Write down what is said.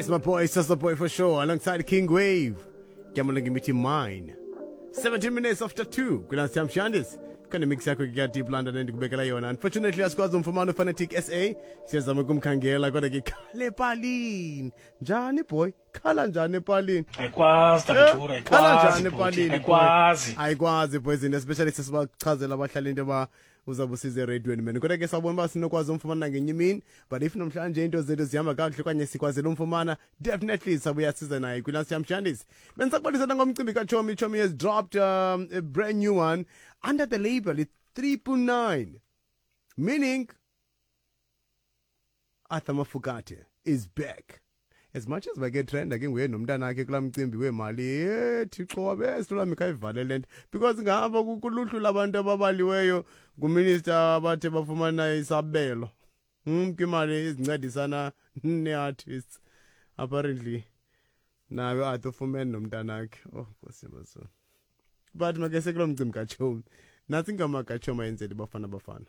It's my boy, it's just the boy for sure, alongside King Wave. Gambling Miti Mine. 17 minutes after 2. Kula Shandis. Khona mix yakho ke Deep London endikubekela yona. Unfortunately asikwazi umfumana uFanatic SA. Siyazama ukumkhangela kodwa ke khala epalini. Njani boy? Khala njani epalini? Ayikwazi Takutura, eh, khala ayikwazi njani bhuti, epalini? boy? Ayikwazi. Ayikwazi boys, and especially sesibachazela abahlali into yoba uzawube usize erediyweni man. Kodwa ke sawubona uba sinokwazi umfumana ngenye imini, but if namhlanje into zethu zihamba kakuhle okanye sikwazile umfumana, definitely sabuya size naye kwilast yam shandis. Bendisakubalisela ngomcimbi kaChomi. Chomi has dropped a brand new one under the label i-3.9, meaning Arthur Mafokate is back. As much as bake-trenda ke nguye nomntanakhe kulaa mcimbi weemali, ye Thixo wabe khayivale le nto, because ngapha kuluhlu labantu ababaliweyo nguminister abathe bafumana isabelo kwimali ezincedisana nee-artists, apparently naye Arthur ufumene nomntanakhe. Oh Nkosi yamazulu, but make sekulo mcimbi kaChomi. Nantsi ingoma kaChomi ayenzele Bafana Bafana.